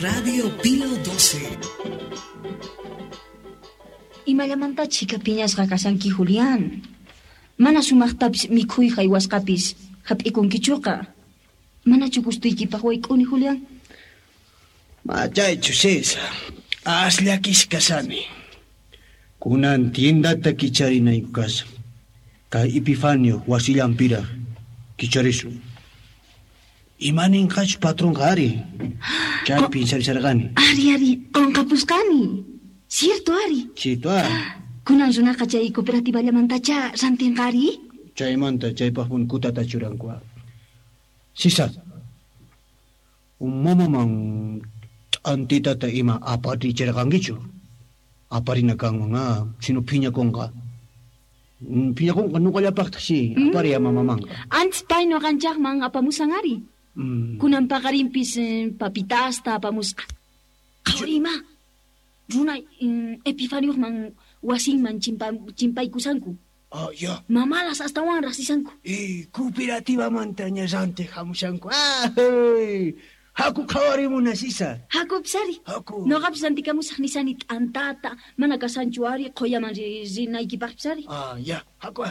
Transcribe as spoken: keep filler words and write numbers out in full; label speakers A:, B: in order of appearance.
A: Radio Pío doce.
B: Imallamanta chika piñasqa kashanki, Julián. Mana sumaqtapis mikhuy haywasqapis hap'ikunkichuqa. Manachu gustuykipaq wayk'uni, Julián?
C: Machaychu, César. Asllakis kasani. Kunan tiendata kicharinayku kashan. Kay Epifanio wasillanpiraq kicharisun. Imaninqachu patronqa ari? Chay pinsaricharqani.
B: Ari, ari, qonqapusqani. Cierto, ari.
C: Cierto, ari.
B: Kunan runaqa chay cooperativallamantacha rantinqa ari?
C: Chaymanta chaypaqpuni kutata churanku. Sisa, mamaman t'antitata ima aparichirqankichu? Aparina kanman, ah, sino phiñakunqa. Phiñakunqa nuqallapaqtaq si, apariya mamamanqa.
B: Antes pay nuqanchaqman apamusan ari.
C: Mm.
B: Kunan paqarinpis eh, papitasta apamusqa. Qhawarima, runa mm, Epifanioqman wasinman chimpa, chimpaykusanku.
C: Ah, ya.
B: Mamalas astawan rasisanku.
C: Eh, cooperativamantaña rantiq hamushanku. Ah, hey. Haku qhawarimuna, Sisa.
B: Haku pisari.
C: Haku.
B: Noqapis rantikamusaq nisani t'antata, mana kasanchu ari qhuyaman rinaykipaq pisari.
C: Ah, ya. Haku.